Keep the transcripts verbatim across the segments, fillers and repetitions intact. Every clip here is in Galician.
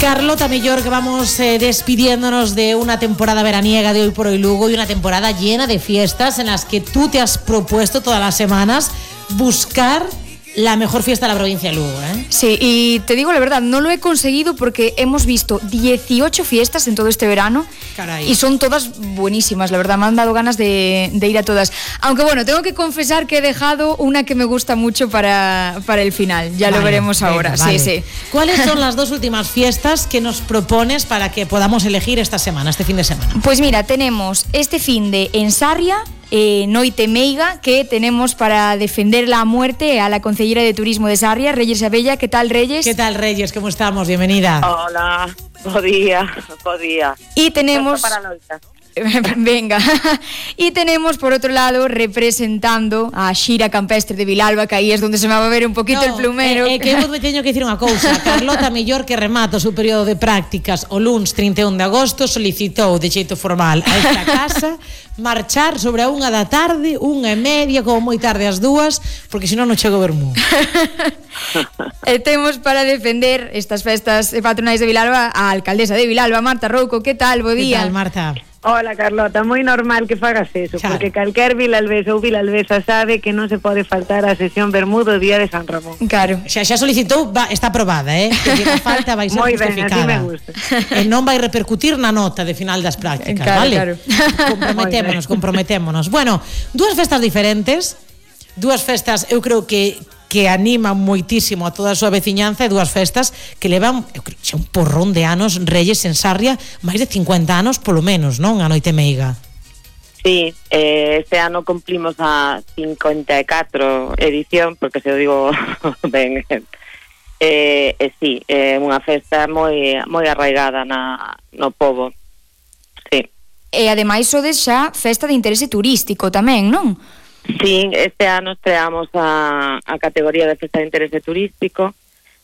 Carlota Mellor, que vamos eh, despidiéndonos de una temporada veraniega de Hoy por Hoy Lugo y una temporada llena de fiestas en las que tú te has propuesto todas las semanas buscar la mejor fiesta de la provincia de Lugo, ¿eh? Sí, y te digo la verdad, no lo he conseguido porque hemos visto dieciocho fiestas en todo este verano. Caray. Y son todas buenísimas, la verdad, me han dado ganas de, de ir a todas. Aunque bueno, tengo que confesar que he dejado una que me gusta mucho para, para el final, ya vale, lo veremos venga, ahora. Vale. Sí, sí. ¿Cuáles son las dos últimas fiestas que nos propones para que podamos elegir esta semana, este fin de semana? Pues mira, tenemos este fin de en Sarria, Eh, Noite Meiga, que tenemos para defender la muerte a la concejera de Turismo de Sarria, Reyes Abella. ¿Qué tal, Reyes? ¿Qué tal, Reyes? ¿Cómo estamos? Bienvenida. Hola, bo día, bo día. Y tenemos... Venga. Y tenemos por otro lado representando a Xira Campestre de Vilalba, que aí es donde se me va a ver un poquito no, el plumero. É eh, eh, que eu teño que dicir unha cousa. Carlota Mellor, que remata o seu período de prácticas o luns trinta e un de agosto, solicitou de xeito formal a esta casa marchar sobre a unha da tarde, unha e media, como moi tarde as dúas, porque senón non chego a vermú. E temos para defender estas festas patronais de Vilalba a alcaldesa de Vilalba, Marta Rouco. Que tal? Bo día. Que tal, Marta? Hola, Carlota, moi normal que fagas eso, claro. Porque calquer vilalbesa ou vilalbesa sabe que non se pode faltar a sesión Bermudo o día de San Ramón. Claro. Xa, xa solicitou, va, está aprobada, eh? Que a falta vai ser moi justificada. Ben, así me gusta. E non vai repercutir na nota de final das prácticas, claro, vale? Claro. Comprometémonos, comprometémonos. Bueno, dúas festas diferentes, dúas festas, eu creo que que animan moitísimo a toda a súa veciñanza, e dúas festas que levan, eu creo, xa un porrón de anos, Reyes, en Sarria, máis de cincuenta anos polo menos, non? A Noite Meiga. Sí, eh, este ano cumplimos a cincuenta e catro edición, porque se o digo ben, eh, eh, sí, é eh, unha festa moi moi arraigada na, no pobo, sí. E ademais sodes xa festa de interese turístico tamén, non? Sí, este ano estreamos a, a categoría de festa de interese turístico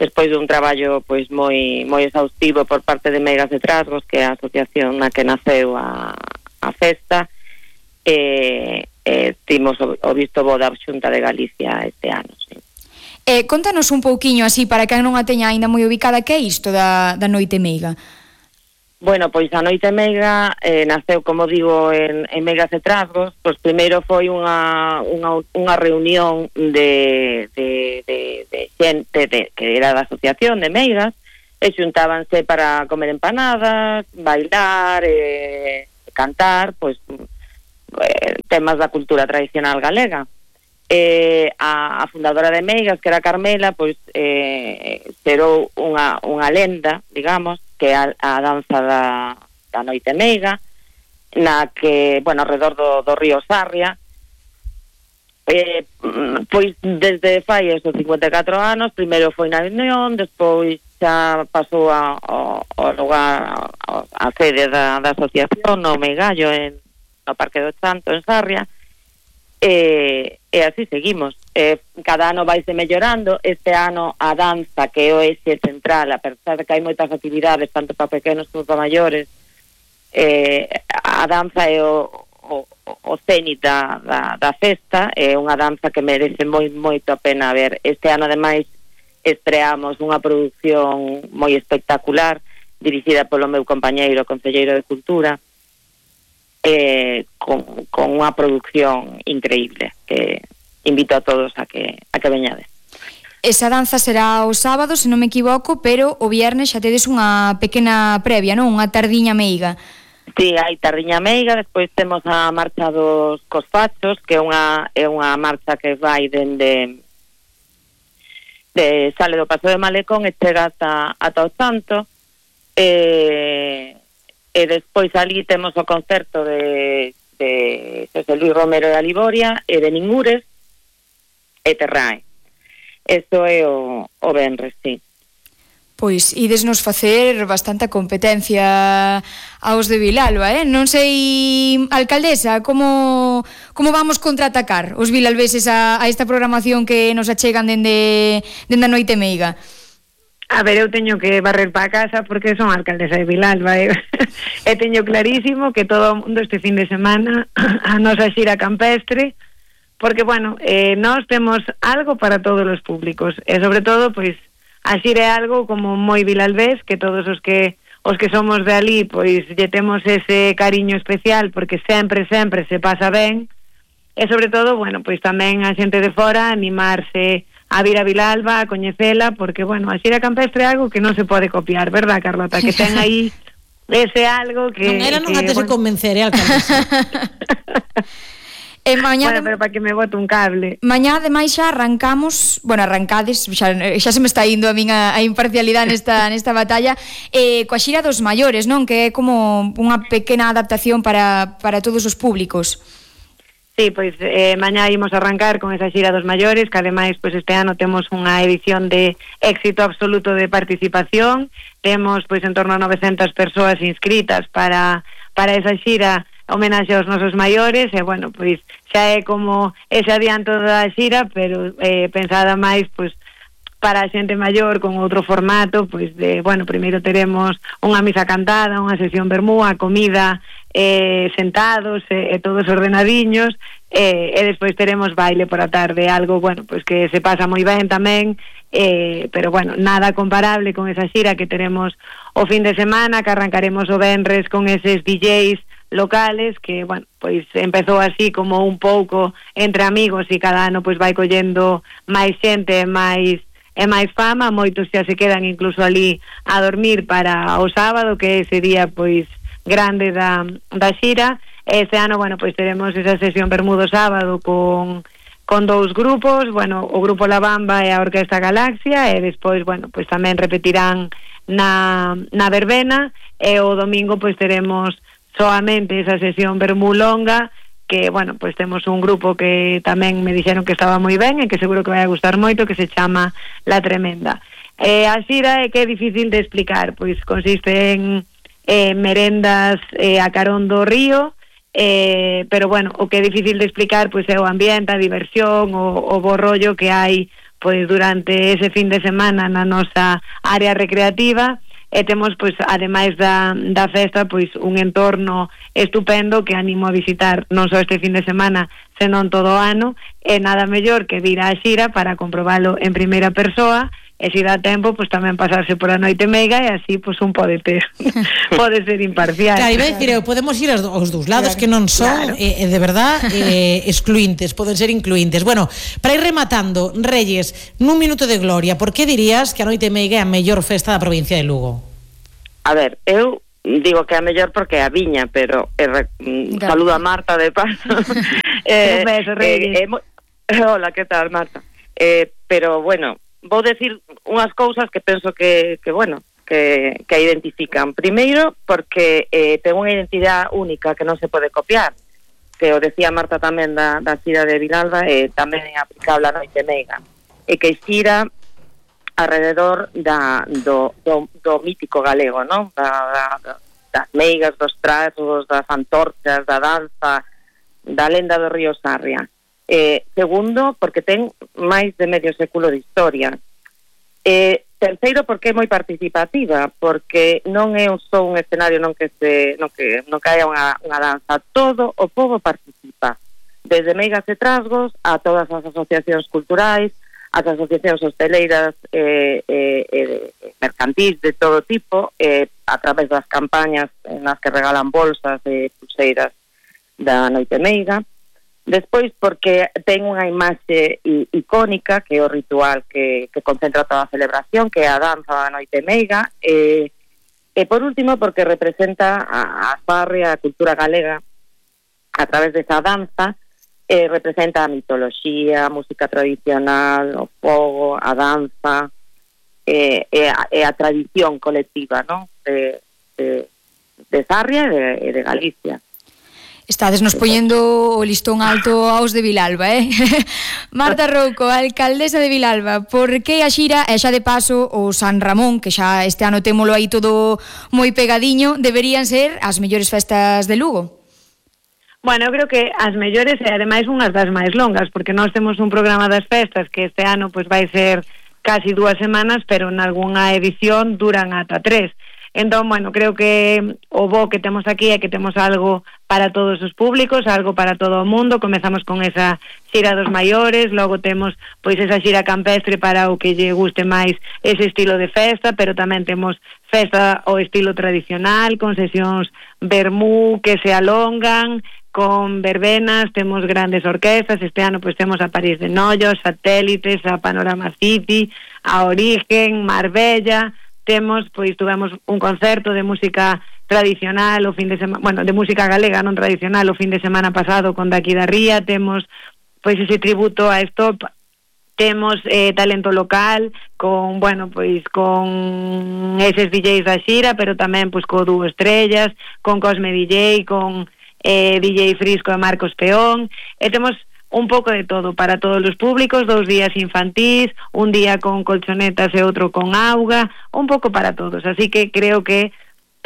despois dun traballo pois moi moi exhaustivo por parte de Meigas de Trasgos, que é a asociación na que naceu a, a festa. E, e timos o, o visto bo da Xunta de Galicia este ano, sí. Eh, contanos un pouquiño así para que non a teña aínda moi ubicada, que é isto da, da Noite Meiga? Bueno, pois a Noite Meiga eh, naceu, como digo, en, en Meigas de Trasgos. Pois primeiro foi unha, unha, unha reunión de, de, de, de xente de, que era da asociación de Meigas, e xuntábanse para comer empanadas, bailar, eh, cantar, pois eh, temas da cultura tradicional galega. Eh, a, a fundadora de Meigas, que era Carmela, pois eh, xerou unha, unha lenda, digamos, que é a, a danza da, da Noite Meiga, na que, bueno, alrededor do, do río Sarria, eh, pois desde fai esos cincuenta e catro anos, primeiro foi na Unión, despois xa pasou a, a, a lugar, a, a sede da, da asociación, no Meigallo, en, no Parque do Chanto, en Sarria, e, e así seguimos. Eh, cada ano vaise mellorando. Este ano a danza, que é o eixe central, a pesar de que hai moitas actividades tanto para pequenos como para maiores, eh, a danza é o, o, o cenit da, da, da festa, é unha danza que merece moi, moito a pena ver. Este ano ademais estreamos unha produción moi espectacular dirixida polo meu compañeiro concelleiro de Cultura, eh, con, con unha produción increíble que invito a todos a que a que veñades. Esa danza será o sábado, se non me equivoco, pero o viernes xa tedes unha pequena previa, non? Unha tardiña meiga. Sí, hai tardiña meiga, despois temos a marcha dos Cosfachos, que é unha é unha marcha que vai dende de sale do Paso de Malecón e chega ata ata o Santo. Eh, e despois ali temos o concerto de de José Luis Romero de Aliboria e de Ningures e Terrae. Eso é o, o venres, sí. Pois idesnos facer bastante competencia aos de Vilalba, eh? Non sei, alcaldesa, como como vamos contraatacar os vilalbeses a, a esta programación que nos achegan dende, dende a Noite Meiga? A ver, eu teño que barrer para casa porque son alcaldesa de Vilalba, eh? E teño clarísimo que todo o mundo este fin de semana a nosa xira campestre, porque, bueno, eh, nós temos algo para todos os públicos, e sobre todo, pois, a xira é algo como moi vilalbés, que todos os que os que somos de ali, pois lle temos ese cariño especial, porque sempre, sempre se pasa ben, e sobre todo, bueno, pois tamén a xente de fora animarse a vir a Vilalba, a coñecela, porque, bueno, a xira campestre é algo que non se pode copiar, verdad, Carlota? Que ten aí ese algo que... Non era non que, antes de bueno... convencer, eh, alcaldesa. E mañá, bueno, pero para que me bote un cable. Mañá ademais xa arrancamos, bueno, arrancades, xa, xa se me está indo a min a, a imparcialidade nesta nesta batalla, eh, coa xira dos maiores, non? Que é como unha pequena adaptación para, para todos os públicos. Sí, pois eh, mañá imos arrancar con esa xira dos maiores, que ademais pois este ano temos unha edición de éxito absoluto de participación, temos pois en torno a novecentas persoas inscritas para, para esa xira homenaxe aos nosos maiores, e bueno, pois xa é como ese adianto da xira, pero eh, pensada máis pois para a xente maior con outro formato, pois de, bueno, primeiro teremos unha misa cantada, unha sesión vermú, a comida eh, sentados e, e todos ordenadiños, e, e despois teremos baile por a tarde, algo, bueno, pois que se pasa moi ben tamén, eh, pero bueno, nada comparable con esa xira que teremos o fin de semana, que arrancaremos o venres con eses D Js locales, que, bueno, pois empezou así como un pouco entre amigos e cada ano pois vai collendo máis xente e máis e máis fama, moitos xa se quedan incluso ali a dormir para o sábado, que é ese día pois grande da, da xira. Ese ano, bueno, pois teremos esa sesión Bermudo sábado con con dous grupos, bueno, o grupo La Bamba e a Orquesta Galaxia, e despois, bueno, pois tamén repetirán na, na verbena, e o domingo pois teremos soamente esa sesión vermú longa, que, bueno, pois temos un grupo que tamén me dixeron que estaba moi ben e que seguro que vai a gustar moito, que se chama La Tremenda. Eh, a xira é que é difícil de explicar, pois consiste en eh, merendas eh, a carón do río, eh, pero, bueno, o que é difícil de explicar pois é o ambiente, a diversión, o, o bo rollo que hai pois durante ese fin de semana na nosa área recreativa. E temos, pois, ademais da, da festa, pois, un entorno estupendo que animo a visitar non só este fin de semana, senón todo o ano, e nada mellor que vir á xira para comprobalo en primeira persoa, e se dá tempo, pois tamén pasarse por a noite meiga, e así, pois, un pode ter, pode ser imparcial. Claro, iba a dicir, podemos ir aos, aos dous lados, claro, que non son, claro, eh, de verdad, eh, excluintes, poden ser incluintes. Bueno, para ir rematando, Reyes, nun minuto de gloria, por que dirías que a noite meiga é a mellor festa da provincia de Lugo? A ver, eu digo que é a mellor porque é a viña, pero eh, saludo a Marta de paso. eh, beso, Reyes. Eh, eh, hola, que tal, Marta? Eh, pero, bueno, vou decir unhas cousas que penso que, que bueno, que, que a identifican. Primeiro, porque eh, ten unha identidade única que non se pode copiar, que o decía Marta tamén da, da xira de Vilalba, e eh, tamén é aplicable a noite meiga, e que xira alrededor da, do, do, do mítico galego, non? Da, da, das meigas, dos trasgos, das antorchas, da danza, da lenda do río Sarria. Eh, segundo, porque ten máis de medio século de historia. Eh, terceiro, porque é moi participativa, porque non é un só un escenario non que se non que non que haya unha, unha danza, todo o povo participa, desde meigas e trasgos a todas as asociacións culturais, as asociacións hosteleiras e eh, eh, eh, mercantís de todo tipo, eh, a través das campañas nas que regalan bolsas e pulseiras da noite meiga. Despois, porque ten unha imaxe icónica, que é o ritual que, que concentra toda a celebración, que é a danza da noite meiga, e, e por último, porque representa a, a farria, a cultura galega, a través desa danza, e representa a mitoloxía, a música tradicional, o fogo, a danza, e, e, a, e a tradición colectiva, non? De, de, de Sarria e de, e de Galicia. Estades nos poñendo o listón alto aos de Vilalba, eh? Marta Rouco, alcaldesa de Vilalba, por que a xira, e xa de paso o San Ramón, que xa este ano témolo aí todo moi pegadiño, deberían ser as mellores festas de Lugo? Bueno, eu creo que as mellores e ademais unhas das máis longas, porque nós temos un programa das festas que este ano pois vai ser casi dúas semanas, pero en algunha edición duran ata tres. Entón, bueno, creo que o bo que temos aquí é que temos algo para todos os públicos, algo para todo o mundo. Comezamos con esa xira dos maiores, logo temos pois esa xira campestre para o que lle guste máis ese estilo de festa, pero tamén temos festa ao estilo tradicional, con sesións vermú que se alongan, con verbenas, temos grandes orquestas. Este ano pois temos a París de Nollos, Satélites, a Panorama City, a Origen, Marbella. Temos, pois, tuvemos un concerto de música tradicional o fin de semana, bueno, de música galega non tradicional o fin de semana pasado con Daqui da Ría. Temos, pois, ese tributo a Stop. Temos eh, talento local con, bueno, pois con eses D Js da xira, pero tamén pois co dúo Estrellas, con Cosme D J, con eh, D J Frisco e Marcos Peón, e temos un pouco de todo para todos os públicos, dous días infantís, un día con colchonetas e outro con auga, un pouco para todos, así que creo que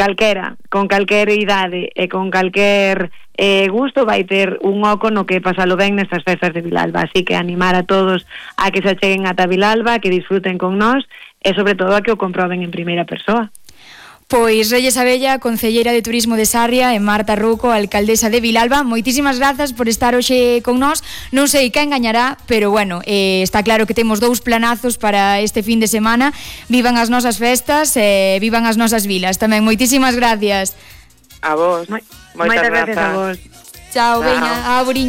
calquera, con calquer idade e con calquer eh, gusto vai ter un oco no que pasalo ben nestas festas de Vilalba, así que animar a todos a que se acheguen ata Vilalba, que disfruten con nós e sobre todo a que o comproben en primeira persoa. Pois Reyes Abella, concelleira de Turismo de Sarria, e Marta Ruco, alcaldesa de Vilalba, moitísimas grazas por estar hoxe con nós. Non sei quen gañará, pero bueno, eh, está claro que temos dous planazos para este fin de semana. Vivan as nosas festas e eh, vivan as nosas vilas tamén. Moitísimas gracias. A vos. Moitas gracias a vos. Chao, veña, a Buriña.